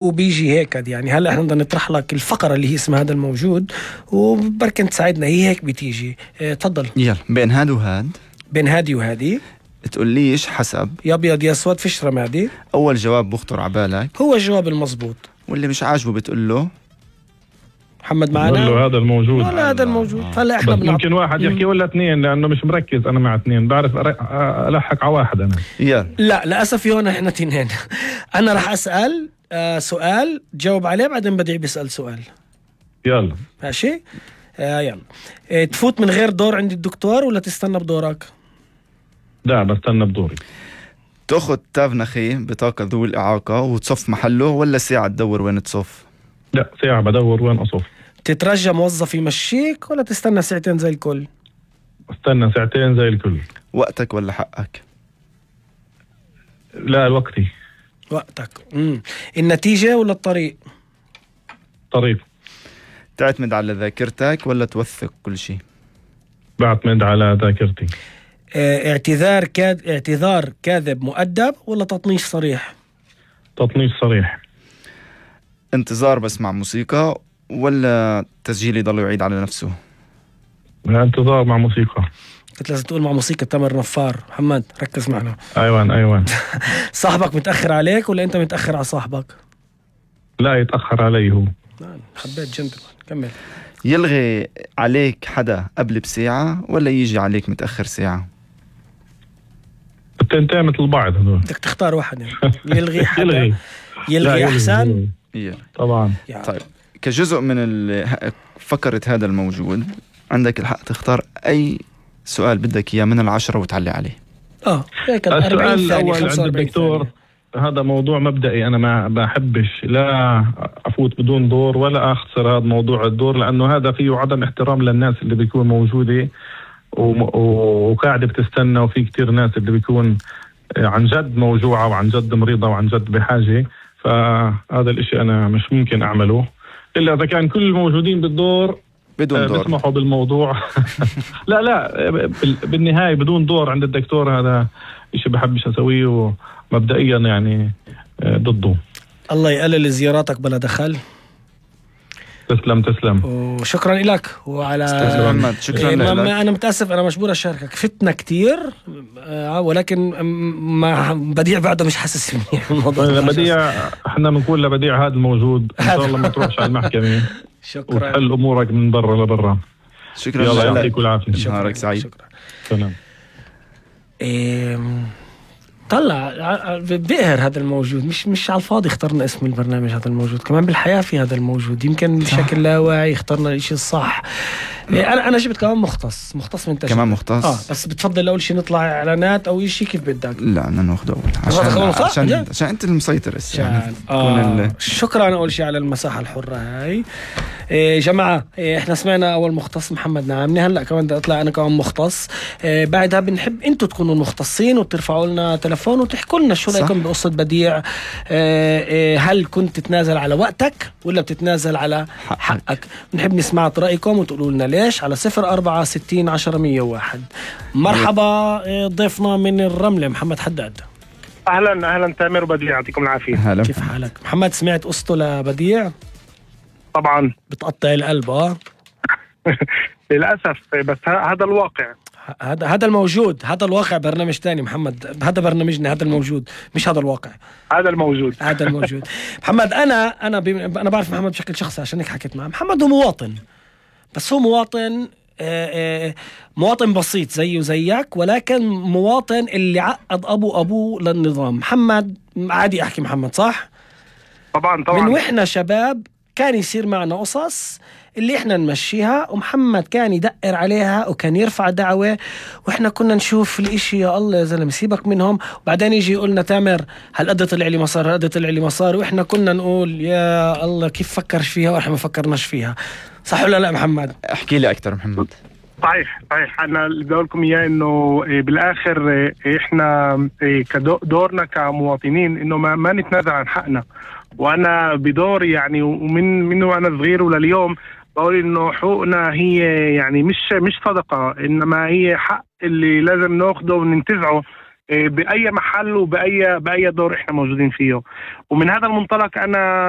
وبيجي هيك يعني. هلا احنا بدنا نطرح لك الفقرة اللي هي اسمها هذا الموجود، وبركن تساعدنا، هي هيك بتيجي. تفضل. يلا، بين هاد وهاد، بين هادي وهادي، تقوليش حسب يا ابيض يا اسود، فيش رمادي. اول جواب بخطر عبالك هو الجواب المضبوط، واللي مش عاجبه بتقول له محمد معنا له هذا الموجود. ولا هذا الموجود. فهلا احنا ممكن واحد يحكي ولا اثنين، لانه مش مركز انا مع اثنين، بعرف الحق على واحد انا. يلا. لا للاسف هون احنا اثنين. انا راح اسال سؤال تجاوب عليه، بعدين بديع بيسال سؤال. يلا ماشي. يلا. تفوت من غير دور عند الدكتور ولا تستنى بدورك؟ لا بستنى بدوري. تاخذ تاف نخي بطاقة ذوي الإعاقة وتصف محله، ولا ساعة تدور وين تصف؟ لا ساعة بدور وين أصف. تترجى موظف يمشيك ولا تستنى ساعتين زي الكل؟ استنى ساعتين زي الكل. وقتك ولا حقك؟ لا الوقتي. وقتك. النتيجة ولا الطريق؟ طريق. تعتمد على ذاكرتك ولا توثق كل شيء؟ بعتمد على ذاكرتي. اعتذار كاذب مؤدب ولا تطنيش صريح؟ تطنيش صريح. انتظار بس مع موسيقى ولا تسجيل يضل يعيد على نفسه؟ انتظار مع موسيقى. كنت لازم تقول مع موسيقى تامر نفار. محمد ركز معنا. ايوان. صاحبك متأخر عليك ولا انت متأخر على صاحبك؟ لا يتأخر علي هو. حبيت جنتلمان. كمل. يلغي عليك حدا قبل بساعة ولا يجي عليك متأخر ساعة؟ التنتين مثل بعض هذول. بدك تختار واحد يعني. يلغي حدا. يلغي أحسن. طبعا. طيب، كجزء من فكرة هذا الموجود عندك الحق تختار أي سؤال بدك إياه من 10 وتعلي عليه. هيك. السؤال الأول عند الدكتور، هذا موضوع مبدئي، أنا ما بحبش لا أفوت بدون دور ولا أخسر هذا موضوع الدور، لأنه هذا فيه عدم احترام للناس اللي بيكون موجودة وقاعدة بتستنى، وفي كتير ناس اللي بيكون عن جد موجوعة وعن جد مريضة وعن جد بحاجة. فهذا الاشي أنا مش ممكن أعمله إلا إذا كان كل الموجودين بالدور بدون دور بيسمحوا بالموضوع. لا بالنهاية بدون دور عند الدكتور هذا إشي بحبش أسويه، ومبدئيا يعني ضده. الله يقلل زياراتك بلا دخل. تسلم. وشكرا لك. وعلى شكرا لك. أنا متأسف، أنا مجبور أشاركك. فتنا كتير ولكن ما بديع بعده مش حاسس منيح الموضوع. بديع احنا بنقول لبديع هذا الموجود ان شاء الله ما تروحش على المحكمة. شكرا. وتحل أمورك من برا لبرا. شكرا. يلا يعطيك العافية. نهارك سعيد. شكرا. سلام. طلع بقهر هذا الموجود. مش على الفاضي اخترنا اسم البرنامج هذا الموجود، كمان بالحياة في هذا الموجود. يمكن بشكل لا واعي اخترنا الاشي الصح. انا جبت كمان مختص من تشكيل. كمان مختص. بس بتفضل اول شيء نطلع اعلانات او شيء كيف بدك؟ لا انا ناخذ اول عشان انت المسيطر شكرا اول شيء على المساحة الحرة هاي. جماعة احنا سمعنا اول مختص محمد نعمني، هلا كمان بدي اطلع انا كمان مختص. بعدها بنحب انتوا تكونوا مختصين وترفعوا لنا تلفون وتحكوا لنا شو رايكم بقصة بديع. هل كنت تتنازل على وقتك ولا بتتنازل على حقك؟ بنحب نسمع رأيكم وتقولوا لنا ليش على 0460100101. مرحبا. ضيفنا من الرملة محمد حداد. اهلا تامر وبديع، يعطيكم العافية. كيف حالك محمد؟ سمعت قصته لبديع؟ طبعا. بتقطع القلب. للأسف، بس هذا الواقع. هذا الموجود. هذا الواقع برنامج تاني محمد، هذا برنامجنا. هذا الموجود مش هذا الواقع. هذا الموجود. محمد أنا بعرف محمد بشكل شخصي عشان هيك حكيت معه. محمد هو مواطن، بس هو مواطن بسيط زيه وزيك، ولكن مواطن اللي عقد أبوه للنظام. محمد عادي أحكي محمد صح؟ طبعا. من وإحنا شباب كان يصير معنا قصص اللي احنا نمشيها، ومحمد كان يدقر عليها وكان يرفع دعوة، واحنا كنا نشوف الاشي يا الله يا زلمة سيبك منهم. وبعدين يجي يقولنا تامر هالقد طلع لي مصار، واحنا كنا نقول يا الله كيف فكرش فيها واحنا ما فكرناش فيها. صح ولا لا محمد؟ احكي لي اكتر محمد. صحيح. انا اللي بدي اقول لكم اياه انه بالاخر احنا دورنا كمواطنين انه ما نتنازل عن حقنا. وانا بدوري يعني ومن وانا صغير ولليوم بقول انه حقوقنا هي يعني مش صدقة، انما هي حق اللي لازم ناخده وننتزعه بأي محل وبأي دور إحنا موجودين فيه. ومن هذا المنطلق أنا